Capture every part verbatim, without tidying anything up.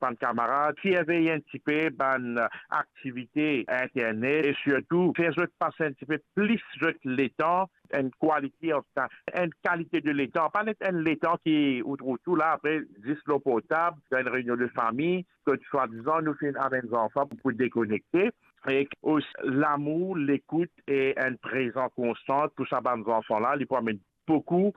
bann kamarad, sirvey enn tipe bann aktivite internet e sirtou fer zot pas enn tipe plis zot letan, enn quality of time, enn kalite de letan, pa net enn letan ki ou trouv tou la, apre zis lor portab, dan enn reynion de fami, kot swadizan nou finn amenn zanfan pou, pou dekonekte. E osi lamour, lekout e enn prezans konstan pou sa bann zanfan la, li pou amenn boukou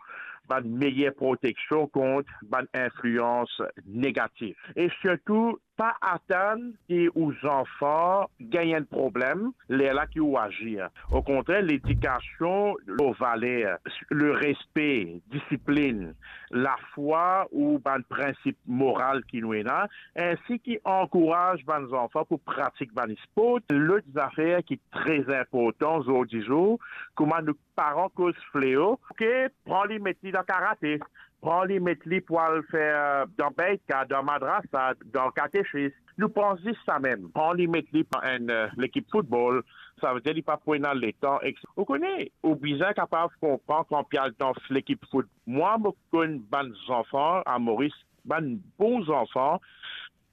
bann meyer proteksion kont bann inflians negatif. E sirtou, pa atann ki ou zanfan gagn enn problem lerla ki ou azir. Okontrer, ledikasion lor valer, le respe, disiplin, lafwa ou bann prinsip moral ki nou ena, ensi ki ankouraz bann zanfan pou pratik bann spor, lot zafer ki tre inportan zordizour, kouma nou paran koz fleo, oke, pran li met li dan karate, pran li met li pou al fer dan beitka, dan madrasa, dan katechis. Nou pran zis sa mem, pran li met li dan enn, eh, lekip foutbol, savedir li pa pou ena letan, ek... Ou kone, ou bizin kapav konpran kan pou al dan lekip fout. Mwa, mo konn bann zanfan a Moris, bann bon zanfan,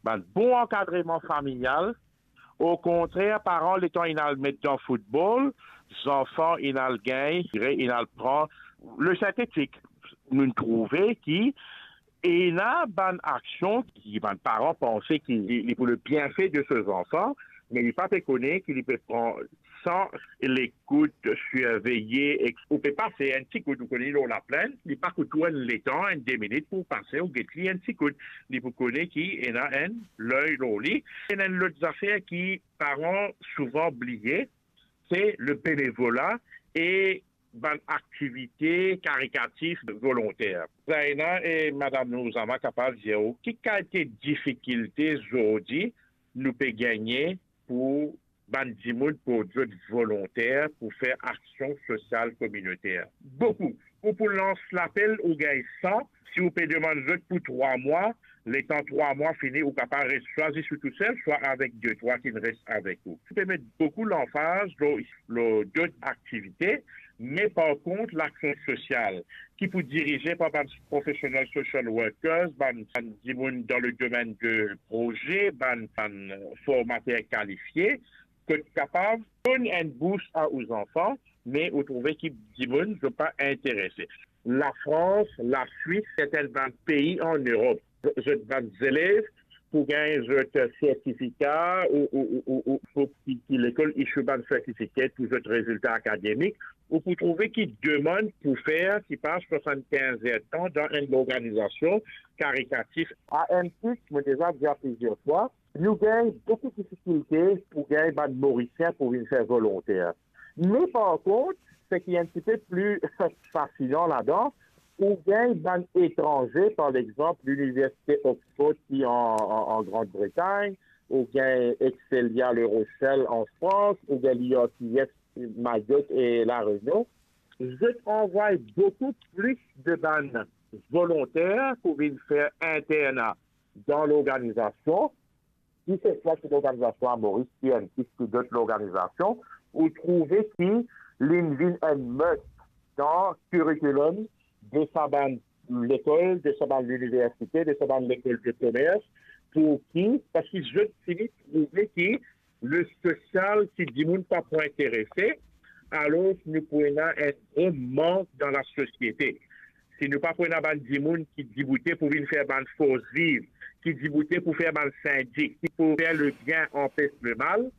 bann bon ankadreman familial. Okontrer, paran letan inn al met dan foutbol, zanfan inn al gagn, inn al pran le sintetik. Nou'nn trouve ki ena bann aksion ki bann paran panse ki li, li pou le bienfe de so zanfan, me li pa pe kone ki li pe pran san lekout, sirveye, ek ou pe pase enn ti kout, ou kone, lor laplenn, li pa kout ou enn letan, enn de minit pou pase, ou get li enn ti kout, li pou kone ki ena enn ley lor li. Ena enn lot zafer ki paran souvan bliye, se le benevola e bann aktivite karikatif volonter. Zaina e Madam Nouzama kapav dir ou ki kalite difikilte zordi nou pe gagne pou bann dimoun port zot volonter pou fer aksion sosial kominoter. Boukou. Ou pou lans lapel, ou gagn san. Si ou pe demann zot pou trwa mwa, letan trwa mwa fini, ou kapav res swa zis ou tousel, swa avek de trwa ki res avek ou. Ou pe met boukou lanfaz lor, lor dot aktivite, me par kont, laksion sosial ki pou dirize par bann profesional social workers, bann, bann dimoun dan le domenn de proze, bann, bann formater kalifie, kot kapav donn enn bous a ou zanfan, me ou trouve ki dimoun zot pa interese. Lafrans, Laswis, sertin bann pei an Erop, zot bann zelev pou gagn zot sertifika ou, ou, ou, ou, ou pou ki, ki lekol issue bann sertifika pou zot rezilta akademik, ou pou trouve ki demann pou fer ki pas swasann-kinz er tan dan enn lorganizasion karikatif. A enn tit, mo deza dir plizier fwa, nou gagn boukou difikilte pou gagn bann Morisien pou vinn fer volonter. Me par kont, seki enn tipe pli fasilan ladan, ou gagn bann etranze, par exanp, Liniversite Oxford ki an, an, an Grand Bretagn, ou gagn Excelia La Rochelle an Frans, ou gagn l'I R T S Mayotte e La Réunion. Zot anvway boukou plis de bann volonter pou vinn fer interna dan lorganizasion, ki se swa ki lorganizasion a Moris, ki enn ki, ki dot lorganizasion, ou trouve ki linn vinn enn must dan curriculum de sa bann lekol, de sa bann liniversite, de sa bann lekol de komers. Pou ki? Parski zot fini trouve ki le sosial, si dimoun pa pou interese, alor nou pou ena enn gro mank dan lasosiete. Si nou pa pou ena bann dimoun ki diboute pou vinn fer bann fors viv, ki diboute pou fer bann sindik, ki pou fer lebien, anpes lemal,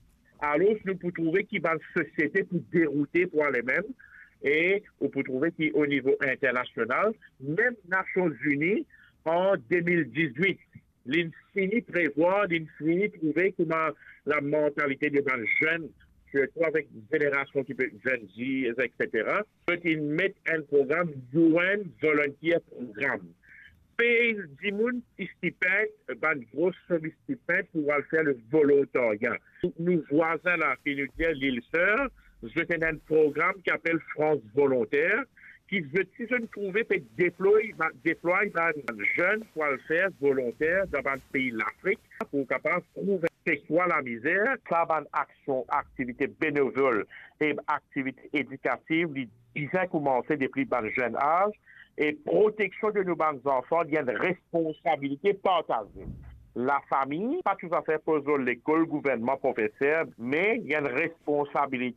alor nou pou trouve ki bann sosiete pou deroute pou ale mem, e ou pou trouve ki o nivo internasional, mem Nasion Zini an de mil dizwit, linn fini prevwar, linn fini trouve kouma lamantalite de bann zenn, sirtou avek zenerasion ki pe Gen Z, et cetera. Zot inn met enn program U N Volunteer Program. Pey dimoun stipenn, bann gro som stipenn pou al fer le volontarya. Nou vwazin la, ki nou dir Lil Ser, zot ena enn program ki apel France Volontaire, ki zot, si zot trouve, pe deploy, ba-, deplway bann zenn pou al fer volonter dan bann pei Lafrik, pou kapav trouv se kwa lamizer. Sa bann aksion, aktivite benevol e aktivite edikativ, li bizin koumanse depi bann zenn az, e proteksion de nou bann zanfan, li enn responsabilite partaze. Lafami pa touzafer poz rol lekol, gouvernman, profeser, me li enn responsabilite